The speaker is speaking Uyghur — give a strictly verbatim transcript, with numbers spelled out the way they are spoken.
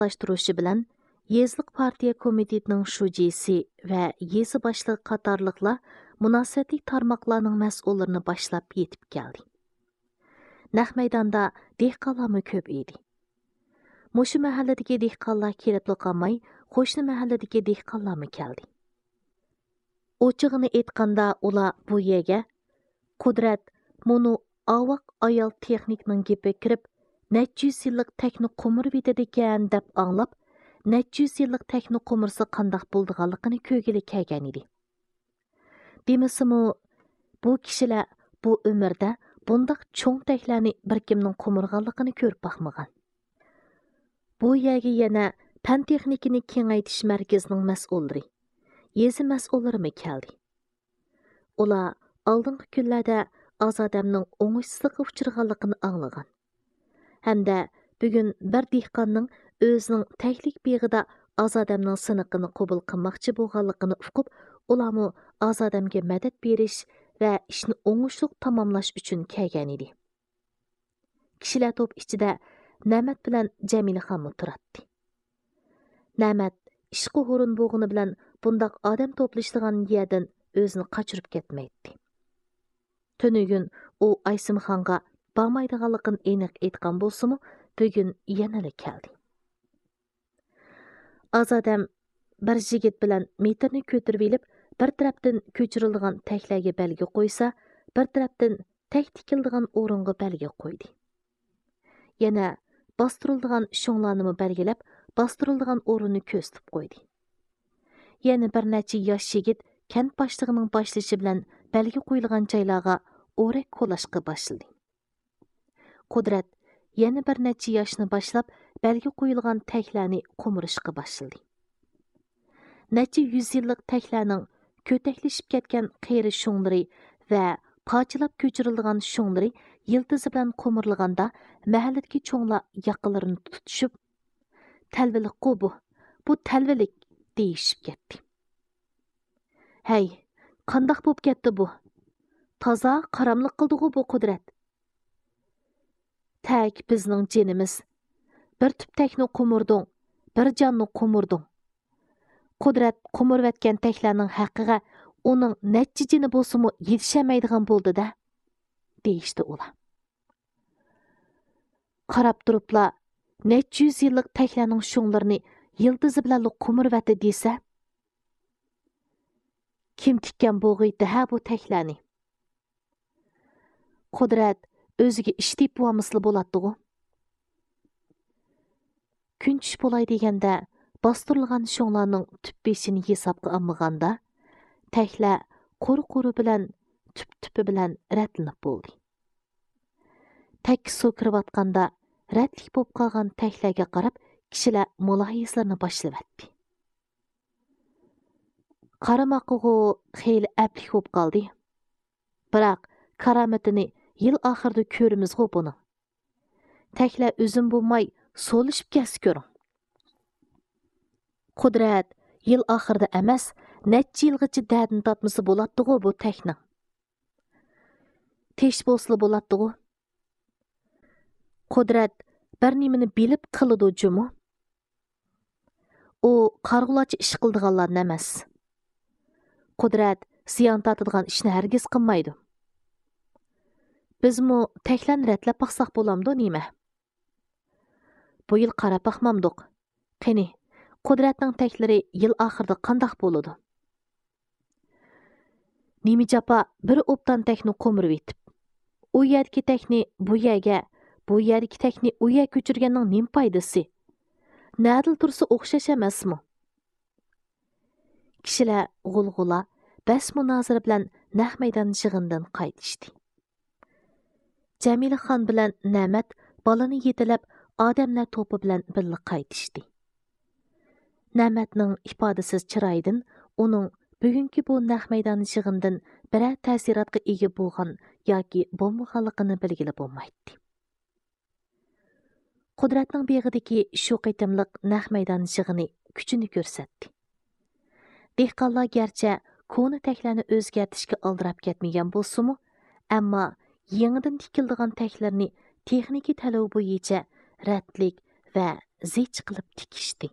ئورۇنلاشتۇرۇشى بىلەن، يېزىلىق پارتىيە كومىتېتىنىڭ شۇجىسى ۋە يېزا باشلىقى قاتارلىقلار مۇناسىۋەتلىك تارماقلارنىڭ مەسئۇللىرىنى باشلاپ يېتىپ كەلدى. نەق مەيداندا دېھقانلارمۇ كۆپ ئىدى. مۇشۇ مەھەللىدىكى دېھقانلار كېلىپلا قالماي، قوشنا مەھەللىدىكى دېھقانلارمۇ كەلدى. ئوچۇقىنى ئېيتقاندا، ئۇلار بۇ يەرگە «قۇدرەت، مۇنۇ ئاۋاق ئايال تېخنىكنىڭ گېپىگە كىرىپ، نەچچە يۈز يىللىق تەكنى قومۇرۇۋېتىدىكەن» دەپ ئاڭلاپ، نەچچە يۈز يىللىق تەكنى قومۇرسا قانداق بولىدىغانلىقىنى كۆرگىلى كەلگەنىدى. دېمىسىمۇ، بۇ كىشىلەر بۇ ئۆمرىدە بۇنداق چوڭ تەكلەرنى بىر كىمنىڭ قومۇرغانلىقىنى كۆرۈپ باقمىغان. بۇ يەرگە يەنە پەن تېخنىكىنى كېڭەيتىش مەركىزىنىڭ مەسئۇللىرى، يېزا مەسئۇللىرىمۇ كەلدى. ئۇلار ئالدىنقى كۈنلەردە ئازادەمنىڭ ئوڭۇشسىزلىققا ئۇچرىغانلىقىنى ئاڭلىغان ھەمدە بۈگۈن بىر دېھقاننىڭ ئۆزىنىڭ تەكلىك بېغىدا ئازادەمنىڭ سىنىقىنى قوبۇل قىلماقچى بولغانلىقىنى ئۇقۇپ، ئۇلارمۇ ئازادەمگە مەدەت بېرىش ۋە ئىشنى ئوڭۇشلۇق تاماملاش ئۈچۈن كەلگەنىدى. كىشىلەر توپى ئىچىدە نەمەت بىلەن جەمىلىخانمۇ تۇراتتى. نەمەت ئىشقا ھۇرۇن بولغىنى بىلەن بۇنداق ئادەم توپلىشىدىغان يەردىن ئۆزىنى قاچۇرۇپ كەتمەيتتى. تۈنۈگۈن ئۇ ئايسىمخانغا بارمايدىغانلىقىنى ئېنىق ئېيتقان بولسىمۇ، بۈگۈن يەنىلا كەلدى. ئازادەم بىر يىگىت بىلەن مېتىرنى كۆتۈرۈۋېلىپ، بىر تەرەپتىن كۆچۈرۈلىدىغان تەكلەرگە بەلگە قويسا، بىر تەرەپتىن تەك تىكىلىدىغان ئورۇنغا بەلگە قويدى. يەنە باستۇرۇلىدىغان شۇڭلارنىمۇ بەلگىلەپ، باستۇرۇلىدىغان ئورۇننى كۆرسىتىپ قويدى. يەنە بىر نەچچە ياش يىگىت كەنت باشلىقىنىڭ باشلىشى بىلەن بەلگە قويۇلغان جايلارغا ئورەك كولاشقا باشلىدى. قۇدرەت يەنە بىر نەچچە ياشنى باشلاپ، بەلگە قويۇلغان تەكلەرنى قومۇرۇشقا باشلىدى. نەچچە يۈز يىللىق تەكلەرنىڭ كۆتەكلىشىپ كەتكەن قېرى شۇڭلىرى ۋە پارچىلاپ كۆچۈرۈلىدىغان شۇڭلىرى يىلتىزى بىلەن قومۇرلىغاندا، مەھەللىدىكى چوڭلار ياقىلىرىنى تۇتۇشۇپ، «تەلۋىلىكقۇ بۇ، بۇ تەلۋىلىك» دېيىشىپ كەتتى. «ھەي، قانداق بوپ كەتتى بۇ؟ تازا قاراملىق قىلدىغۇ بۇ قۇدرەت. تەك بىزنىڭ جېنىمىز. بىر تۈپ تەكنى قومۇردۇڭ، بىر جاننى قومۇردۇڭ. قۇدرەت قومۇرۇۋەتكەن تەكلەرنىڭ ھەققىگە ئۇنىڭ نەچچە جېنى بولسىمۇ يېتىشەلمەيدىغان بولدى-دە» دېيىشتى ئۇلار. قاراپ تۇرۇپلا، نەچچە يۈز يىللىق تەكلەرنىڭ شۇڭلىرىنى يىلتىزى بىلەنلا قومۇرۇۋەتتى دېسە، كىم تىككەن بولغىيتتى ھە بۇ تەكلەرنى؟ قۇدرەت ئۆزىگە ئىش تېپىۋالمىسىلا بولاتتىغۇ. كۈن چۈش بولاي دېگەندە، باستۇرۇلغان شۇڭلارنىڭ تۈپ بېشىنى ھېسابقا ئالمىغاندا، تەكلەر قۇر قۇرى بىلەن، تۈپ تۈپى بىلەن رەتلىنىپ بولدى. تەككە سۇ كىرىۋاتقاندا، رەتلىك بولۇپ قالغان تەكلەرگە قاراپ، كىشىلەر مۇلاھىزىلىرىنى باشلىۋەتتى. قارىماققىغۇ خېلى ئەپلىك بولۇپ قالدى. بىراق، كارامىتىنى يىل ئاخىرىدا كۆرىمىزغۇ بۇنىڭ. تەكلەر ئۈزۈم بولماي سولىشىپ كەتسە كۆرۈڭ. قۇدرەت يىل ئاخىرىدا ئەمەس، نەچچە يىلغىچە دەردىنى تارتمىسا بولاتتىغۇ بۇ تەكنىڭ. تىنچ بولسىلا بولاتتىغۇ. قۇدرەت بىر نېمىنى بىلىپ قىلىدۇ جۇمۇ. ئۇ قارىغۇلارچە ئىش قىلىدىغانلاردىن ئەمەس. قۇدرەت زىيان تارتىدىغان ئىشنى ھەرگىز قىلمايدۇ. بىزمۇ تەكلەرنى رەتلەپ باقساق بولامدۇ نېمە؟ بۇ يىل قاراپ باقمامدۇق. قېنى، قۇدرەتنىڭ تەكلىرى يىل ئاخىرىدا قانداق بولىدۇ؟ نېمە جاپا بىر ئوبدان تەكنى قومۇرۇۋېتىپ، ئۇ يەردىكى تەكنى بۇ يەرگە، بۇ يەردىكى تەكنى ئۇ يەرگە كۆچۈرگەننىڭ نېمە پايدىسى؟ نەدىلا تۇرسا ئوخشاش ئەمەسمۇ؟ كىشىلەر غۇلغۇلا، بەس مۇنازىرە بىلەن نەق مەيدان يىغىنىدىن قايتىشتى. جەمىلىخان بىلەن نەمەت بالىنى يېتىلەپ، ئادەملەر توپى بىلەن بىللە قايتىشتى. نەمەتنىڭ ئىپادىسىز چىرايىدىن ئۇنىڭ بۈگۈنكى بۇ نەق مەيدان يىغىنىدىن بىرەر تەسىراتقا ئىگە بولغان ياكى بولمىغانلىقىنى بىلگىلى بولمايتتى. قۇدرەتنىڭ بېغىدىكى شۇ قېتىملىق نەق مەيدان يىغىنى كۈچىنى كۆرسەتتى. دېھقانلار گەرچە كونا تەكلەرنى ئۆزگەرتىشكە ئالدىراپ كەتمىگەن بولسىمۇ، ئەمما يېڭىدىن تىكىلىدىغان تەكلەرنى تېخنىكا تەلىپى بويىچە رەتلىك ۋە زىچ قىلىپ تىكىشتى.